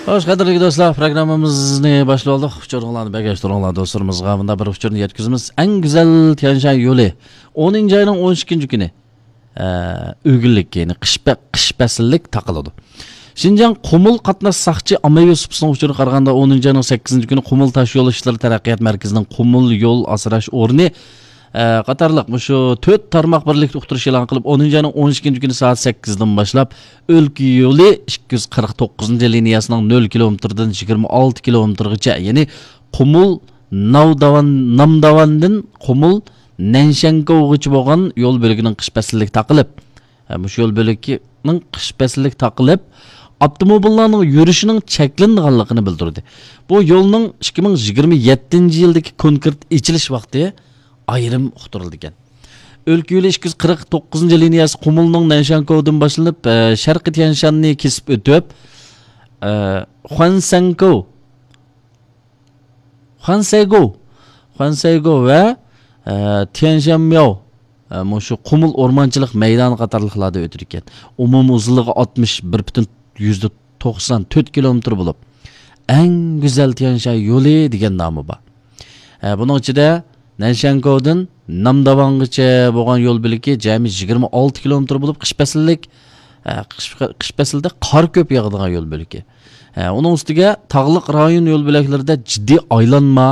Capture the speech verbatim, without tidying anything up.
خوش، قەدىرلىك دوستلار، پروگراممىمىزنى باشلىۋالدۇق. ئۇچۇرۇڭلارنى بەرگەچ تۇرۇڭلار، دوستلىرىمىزغا مۇنداق بىر ئۇچۇرنى يەتكۈزىمىز. ئەڭ گۈزەل تيەنشان يولى ئونىنچى ئاينىڭ ئون ئىككىنچى كۈنى، ئە، ئۆگۈنلۈك، يەنى قىش پە-، قىش پەسىللىك تاقىلىدۇ. شىنجاڭ قۇمۇل قاتناش ساقچى ئاممىۋى سۇپىسىنىڭ ئۇچۇرىغا قارىغاندا، ئونىنچى ئاينىڭ سەككىزىنچى كۈنى قۇمۇل تاشيول ئىشلىرى تەرەققىيات مەركىزىنىڭ قۇمۇل يول ئاسراش ئورنى، ئە، قاتارلىق مۇشۇ تۆت تارماق بىرلىكتە ئۇقتۇرۇش ئېلان قىلىپ، ئونىنچى ئاينىڭ ئون ئىككىنچى كۈنى سائەت سەككىزدىن باشلاپ، ئۆلكە يولى ئىككى يۈز قىرىق توققۇزىنچى لىنىيەسىنىڭ نۆل كىلومېتىردىن يىگىرمە ئالتە كىلومېتىرغىچە، يەنى قۇمۇل ناۋداۋان، نامداۋاندىن قۇمۇل نەنشەنكوغىچە بولغان يول بۆلىكىنىڭ قىش پەسلىلىك تاقىلىپ، ھە، مۇشۇ يول بۆلىكىنىڭ قىش پەسلىلىك تاقىلىپ، ئاپتوموبىللارنىڭ يۈرۈشىنىڭ چەكلىنىدىغانلىقىنى بىلدۈردى. بۇ يولنىڭ ئىككى مىڭ يىگىرمە يەتتىنچى يىلدىكى كونكرېت ئېچىلىش ۋاقتى ئايرىم ئۇقتۇرۇلىدىكەن. ئۆلكە يولى ئىككى يۈز قىرىق توققۇزىنچى لىنىيەسى قۇمۇلنىڭ نەنشانكوۋدىن باشلىنىپ، ئە، شەرقىي تيەنشاننى كېسىپ ئۆتۈپ، ئە، خۇەنسەنكوۋ، خۇەنسەيگوۋ، خۇەنسەيگوۋ ۋە، ئە، تيەنشانمياۋ، ئە، مۇشۇ قۇمۇل ئورمانچىلىق مەيدانى قاتارلىقلاردا ئۆتىدىكەن. ئومۇمىي ئۇزۇنلۇقى ئاتمىش بىر پۈتۈن يۈزدە توقسان تۆت كىلومېتىر بولۇپ، ئەڭ گۈزەل تيەنشان يولى دېگەن نامى بار. ئە، بۇنىڭ ئىچىدە نەنشانكوۋدىن نامداۋانغىچە بولغان يول بۆلىكى جەمئىي يىگىرمە ئالتە كىلومېتىر بولۇپ، قىش پەسىللىك، ئە، قىش، قىش پەسلىدە قار كۆپ ياغىدىغان يول بۆلىكى. ئە، ئۇنىڭ ئۈستىگە تاغلىق رايون يول بۆلەكلىرىدە جىددىي ئايلانما،